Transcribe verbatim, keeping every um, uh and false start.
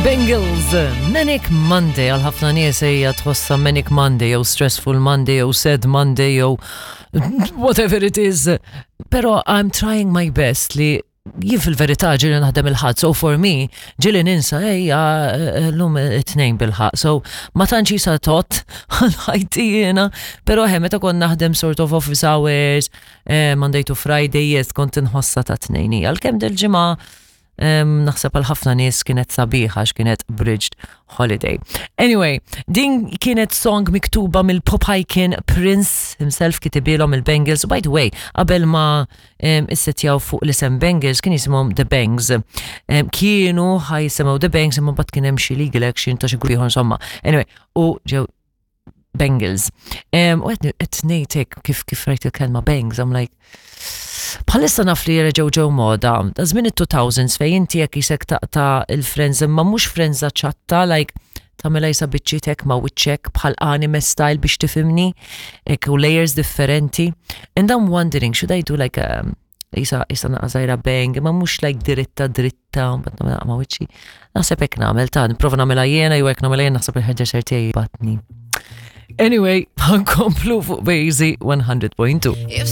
Bangles, Manic Monday, għal ħafna nies hija tħossha Manic Monday, jew Stressful Monday, jew Sad Monday, jew whatever it is. Pero I'm trying my best li jien fil-verità ġieli naħdem il-Ħadd, so for me, ġieli ninsa, ejja, l-lum it-Tnejn bil-ħaqq, so ma tantx jisa tot ħajti jiena, pero he, meta kont naħdem sort of office hours, eh, Monday to Friday, yes, kont inħossa ta' Tnejn. Għalkemm dil-ġimgħa um, naħseb għal ħafna nies kienet sabiħa għax kienet bridged holiday. Anyway, din kienet song miktuba mill-pop icon Prince himself kitibilhom il-Bangles. By the way, qabel ma um, issetjaw fuq l-isem Bangles kien jisimhom The Bangs. Um, kienu ħa jisimgħu The Bangs imma mbagħad kien hemm xi legal action ta' xi grupp ieħor insomma. Anyway, u ġew Bangles. Um, u qed ngħidlek kif kif rajt il-kelma bangs, I'm like, bħalissa naf li reġgħu ġew moda, ta' żmien it-two thousands fejn inti jekk jisek taqta' il-frenz imma mhux frenza ċatta, like tagħmilha jisa biċċitek ma' wiċċek bħal anime style biex tifhimni, hekk u layers differenti. And I'm wondering, should I do like a jisa jisa naqra bang, imma mhux like dritta dritta, mbagħad nagħmilha ma' wiċċi. Naħseb hekk nagħmel ta' nipprova nagħmilha jiena jew hekk nagħmilha jiena naħseb il-hairdresser tiegħi batni. Anyway, ħa nkomplu fuq Bazy one hundred point two. If